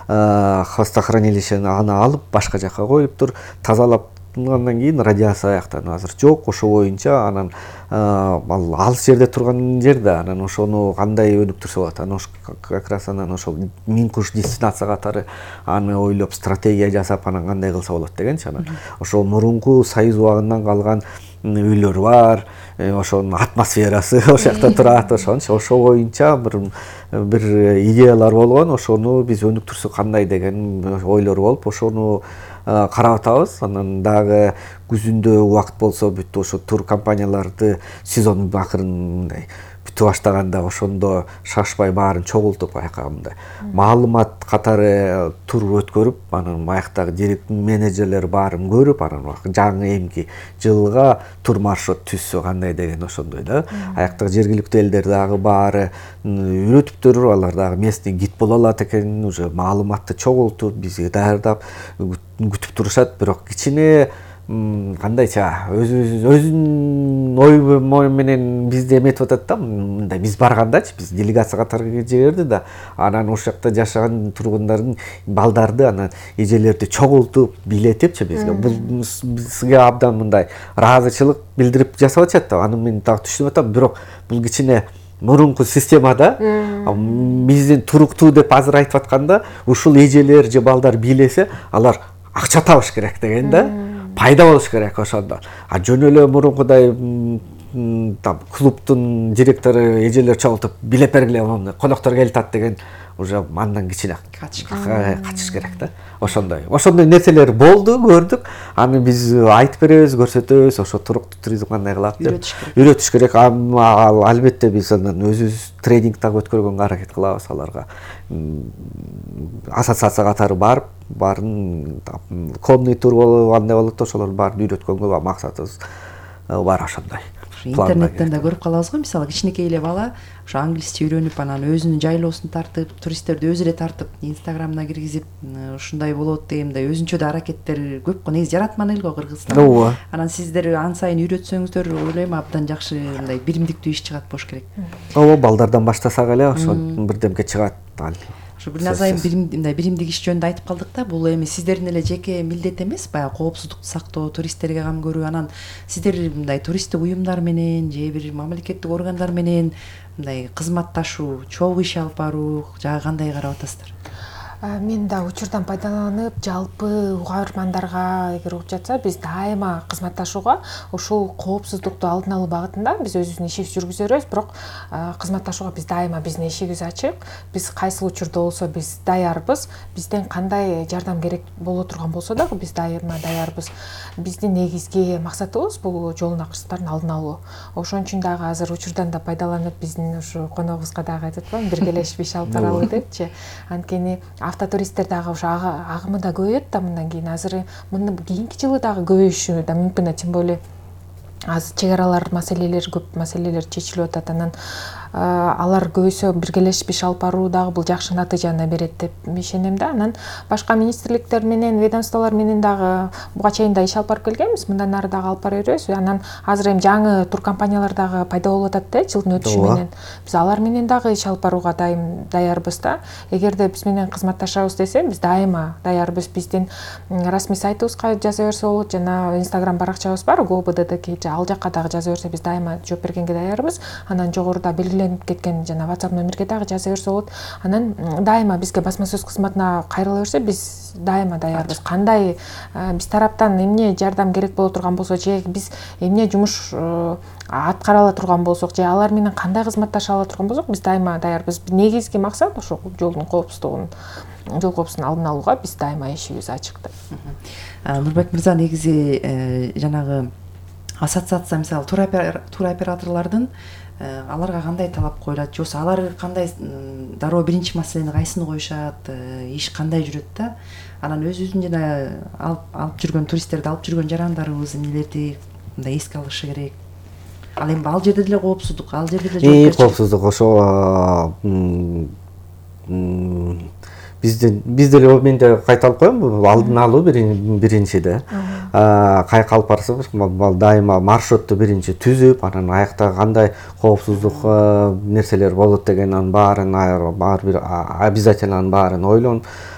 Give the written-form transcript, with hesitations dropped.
хвостохранилищени аны алып башка жака коюптур, тазалап андан кийин радиация аяктан азыр жок, ошо боюнча анан ал алыс жерде турган жерде анан ошону кандай өнүктүрсө болот, анан как раз анан ошол миң куш дестинация катары аны ойлоп стратегия жасап анан кандай кылса болот дегенчи. Анан ошол мурунку союз убагынан калган үйлөр бар, ошонун атмосферасы ошол жакта турат, ошо боюнча бир идеялар болгон, ошону биз өнүктүрсөк кандай деген ойлор болуп, ошону карап атабыз. Анан дагы күзүндө убакыт болсо бүт ошо тур компанияларды сезон акырын мындай бүтүп баштаганда ошондо шашпай баарын чогултуп аяка мындай маалымат катары тур өткөрүп, анан аяктагы директор менеджерлер баарын көрүп, анан жаңы эмки жылга тур маршрут түзсө кандай деген ошондой да. Аяктагы жергиликтүү элдер дагы баары үйрөтүптүр, алар дагы местный гид боло алат экен, уже маалыматты чогултуп бизге даярдап күтүп турушат. Бирок кичине кандайча өзүнүн ой менен бизди эметип атат да, мындай биз баргандачы биз делегация катары жиберди да, анан ошол жакта жашаган тургундардын балдарды анан эжелерди чогултуп бийлетипчи бизге, бул бизге абдан мындай ыраазычылык билдирип жасап атышат да. Аны мен так түшүнүп атам, бирок бул кичине мурунку системада биздин туруктуу деп азыр айтып атканда ушул эжелер же балдар бийлесе алар акча табыш керек деген да, пайда болуш керек ошондо. А жөн эле мурункудай клубдун директору эжелер чогултуп билеп бергиле, коноктор келатат деген уже андан кичине качыш керек да. Ошондой нерселер болду, көрдүк. Аны биз айтып беребиз, көрсөтөбүз, ошо туруктуу туризм кандай кылат деп үйрөтүш керек. Албетте биз андан өзүбүз тренинг дагы өткөргөнгө аракет кылабыз аларга. Ассоциация катары барып, баарын конный тур болуп, андай болот, ошолорду баарын үйрөткөнгө максатыбыз бар ошондой. Интернеттен да көрүп калабыз го, мисалы кичинекей эле бала ошо англисче үйрөнүп, анан өзүнүн жайлоосун тартып, туристтерди өзү эле тартып, инстаграмына киргизип, ушундай болот дегенде өзүнчө да аракеттер көп го. Негизи жаратман эл го Кыргызстан. Анан сиздер ан сайын үйрөтсөңүздөр, ойлойм абдан жакшы мындай биримдиктүү иш чыгат болуш керек. Ооба, балдардан баштасак эле ошо бирдемке чыгат. Ушу бир назайым биримдик иш жөнүндө айтып калдык да, бул эми сиздердин эле жеке милдет эмес, баягы коопсуздукту сактоо, туристтерге кам көрүү. Анан сиздер мындай туристтик уюмдар менен же бир мамлекеттик органдар менен мындай кызматташуу, чогуу иш алып баруу жагы кандай карап атасыздар? Мен да учурдан пайдаланып, жалпы угармандарга эгер угуп жатса, биз дайыма кызматташууга, ушул коопсуздукту алдын алуу багытында биз өзүбүздүн ишибизди жүргүзө беребиз, бирок кызматташууга биз дайыма биздин эшигибиз ачык. Биз кайсыл учурда болсо биз даярбыз. Бизден кандай жардам керек боло турган болсо дагы биз дайыма даярбыз. Биздин негизги максатыбыз бул жолун акырсыздардын алдын алуу. Ошон үчүн дагы азыр учурдан да пайдаланып биздин ушу коногубузга дагы айтып атпаймынбы, биргелешип иш алып баралы депчи. Анткени автотуристтер дагы ошо агымы да көбөйөт да мындан кийин. Азыр кийинки жылы дагы көбөйүшү да мүмкүн, тем более азыр чек аралар маселелери көп маселелер чечилип атат. Анан алар көбөйсө биргелешип иш алып баруу дагы бул жакшы натыйжаны берет деп ишенем да. Анан башка министрликтер менен, ведомстволор менен дагы буга чейин да иш алып барып келгенбиз, мындан ары дагы алып бара беребиз. Анан азыр эми жаңы тур компаниялар дагы пайда болуп атат да жылдын өтүшү менен. Биз алар менен дагы иш алып барууга даярбыз да. Эгерде биз менен кызматташабыз десе, биз дайыма даярбыз. Биздин расмий сайтыбызга жаза берсе болот, жана Instagram баракчабыз бар, GoBDDK, ал жакка дагы жаза берсе биз дайыма жооп бергенге даярбыз. Анан жогоруда белгиленип кеткен жана WhatsApp номерге дагы жаза берсе болот. Анан дайыма бизге басма сөз кызматына кайрыла берсе, биз дайыма даярбыз. Кандай биз тараптан эмне жардам керек боло турган болсо, же биз эмне жумуш аткара ала турган болсок, же алар менен кандай кызматташа ала турган болсок, биз дайыма даярбыз. Негизги максат ошо жолдун коопсуздугун, жол коопсуздугун алдын алууга биз дайыма эшигибиз ачык да. Нурбек мырза, негизи жанагы ассоциация, мисалы тур операторлордун аларга кандай талап коюлат, же алар кандай дароо биринчи маселени кайсыны коюшат, иш кандай жүрөт да. Анан өзүбүздүн жана алып жүргөн туристтерди алып жүргөн жарандарыбыз эмнелерди мындай эске алышы керек. Ал эми ал жерде деле коопсуздук, ал жерде деле коопсуздук ошо биз деле мен да кайталып коем, алдын алуу биринчи да. Кайка алып барсак, дайыма маршрутту биринчи түзүп, анан аякта кандай коопсуздук нерселер болот деген анын баарын ар бир обязательно анын баарын ойлонуп,